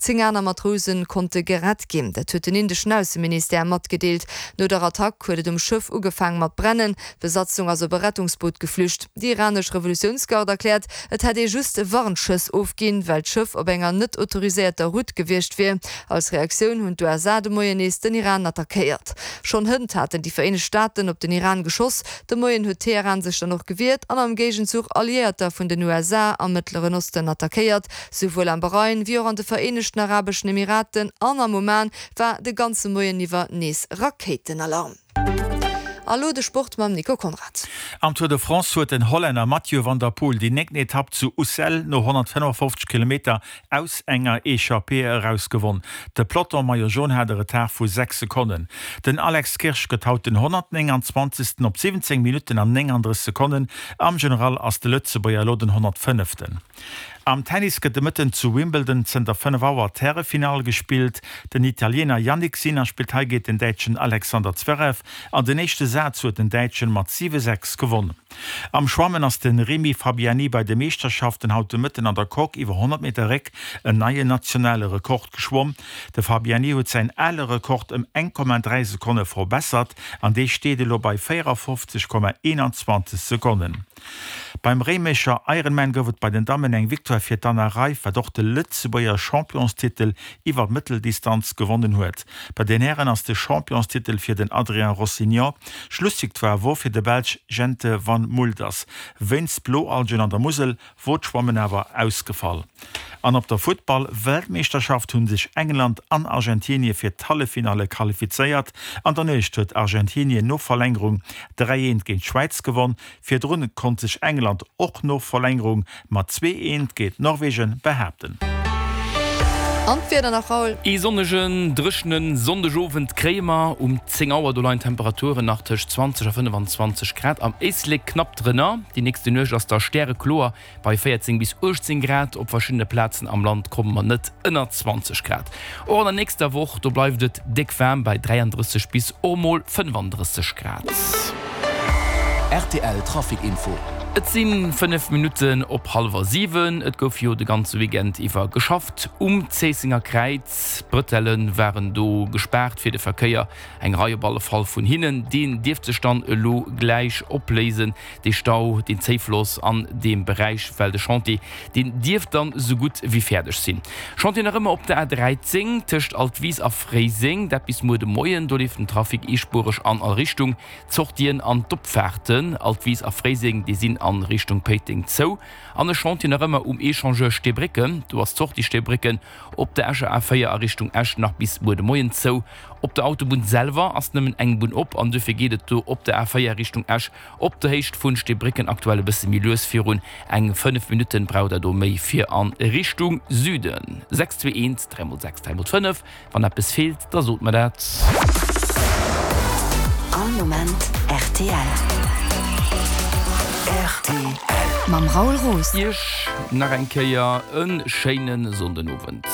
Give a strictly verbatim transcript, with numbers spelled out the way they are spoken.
Zéng aner Matrouse konnte gerett ginn. Dat huet den indeschen Ausseministère matgedeelt. No der Attack huet et um Schëff ugefaang mat brennen. D'Besatzung ass op e Rettungsboot geflücht. Déi iranesch Revolutiounsgarde erkläert, et hätt ee just Warnschëss ofginn, well d'Schëff op enger net autoriséierter Route gewiescht wier. Als Reaktioun hunn d'USA de Moien nees den Iran attackéiert. Schonn hënt haten déi Vereenegt Staaten op den Iran geschoss. De Moien huet Teheran sech dann och gewiert an am Géigenzuch Alliéierter vun den USA am Mëttleren Osten attackéiert. Souwuel am Bahrain wéi och an de Vereenegten Arabeschen Emiraten an am Oman war de ganze Moien iwwer nees Rakéitenalarm. A lo de Sport mam Nico Conrad. Am Tour de France huet den Hollänner Mathieu van der Poel déi néngten Etapp zu Ussel no honnertfënnefofzeg Kilometer aus enger Echappée eraus gewonn. De Peloton Maillot Jaune hat e Retard vu sechs Sekonnen. Den Alex Kirsch gëtt haut den honnertnénganzwanzegsten op siwwenzéng Minutten an nénganddrësseg Sekonnen. Am General ass de Lëtzebuerger elo den honnertfënneften. Am Tennis gëtt de Mëtten zu Wimbledon zënter fënnef Auer d'Härefinall gespillt. Den Italiener Jannik Sinner spillt hei géint den Däitschen Alexander Zverev an den éischte Saz huet den Däitschen mat siwe sechs gewonn. Am Schwammen ass de Rémi Fabiani bei de Meeschterschaften haut de Mëtten an der Coque iwwer honnert Meter Réck en neien nationale Rekord geschwomm. De Fabiani huet säin ale Rekord ëm eng Komma dräi Sekonne verbessert an dee steet elo bei véierafofzeg Komma eenanzwanzeg Sekonnen. Beim Réimecher Ironman gouf et bei den Dammen eng Victoire fir d'Anna Reiff, wat och de Lëtzebuerger Championstitel iwwer d'Mëtteldistanz gewonnen huet. Bei den Hären ass de Championstitel fir den Adrien Rossignol. Schlussvictoire wor fir de Belsch Jente Van Mulders. Wéinst Bloalgen an der Musel wor d'Schwammen awer ausgefall. An op der Futtball-Weltmeeschterschaft hu sech England an Argentinie fir d'Halleffinalle qualifizéiert. An der Nuecht huet Argentinien no Verlängerung dräi eent géint d'Schwäiz gewonn. Virdrun konnt sech England och no Verlängerung mat zwee eent géint Norwegen behaapten. An d'Wieder nach, Raoul? Ee sonnegen, dréchene Sonndegowend kréie mer. Um zéng Auer, do leien d'Temperaturen nach tëscht zwanzeg a fënnefenzwanzeg Grad, am Éislek knapp drënner. Déi nächste Nuecht ass da stärekloer bei véierzéng bis uechtzéng Grad. Op verschiddene Plazen am Land komme mer net ënner zwanzeg Grad. Och an der nächster Woch, do bleift et déck waarm bei dräiandrësseg bis och mol fënnefandrësseg Grad. Rtl Trafic Info. Et si fënnef Minutten op hallwer siwen. Et gouf jo de ganze Weekend iwwer geschafft um Zéissenger Kräiz. D'Brëtelle waren do gespaart fir de Verkéier, eng Rei op alle Fall vun hinnen. Deen dierft sech dann elo gläich opléisen, dee Stau, deen Zéifloss an deem Beräich, well de Chantier, deen dierft dann esou gutt wéi fäerdeg sinn. Chantier nach ëmmer op der A dräizéng tëscht Altwis a Fréiseng, dat bis muer de Moien. Do leeft den Trafic eespuereg an all Richtung. D'Sortien an d'Opfaarten Altwis a Fréiseng, déi sinn a Richtung Péiteng zou. An e Chantier nach ëmmer um Echangeur Steebrécken, do ass d'Sortie Steebrécken op der Escher A véier a Richtung Esch nach bis muer de Moien zou. Op der Autobunn selwer ass nëmmen eng Bunn op an duerfir geet et do op der A véier Richtung Esch op der Héicht vun Steebrécken aktuell e bësse méi lues virun. Eng fënnef Minutten braucht der do méi fir a Richtung Süden. Sechs zwee eent dräi mol sechs dräi mol fënnef. Wann eppes feelt, da sot mer dat. All Moment rtl. Rtl. Mam Raoul Roos. Iech nach eng Kéier e schéine Sonndenowend.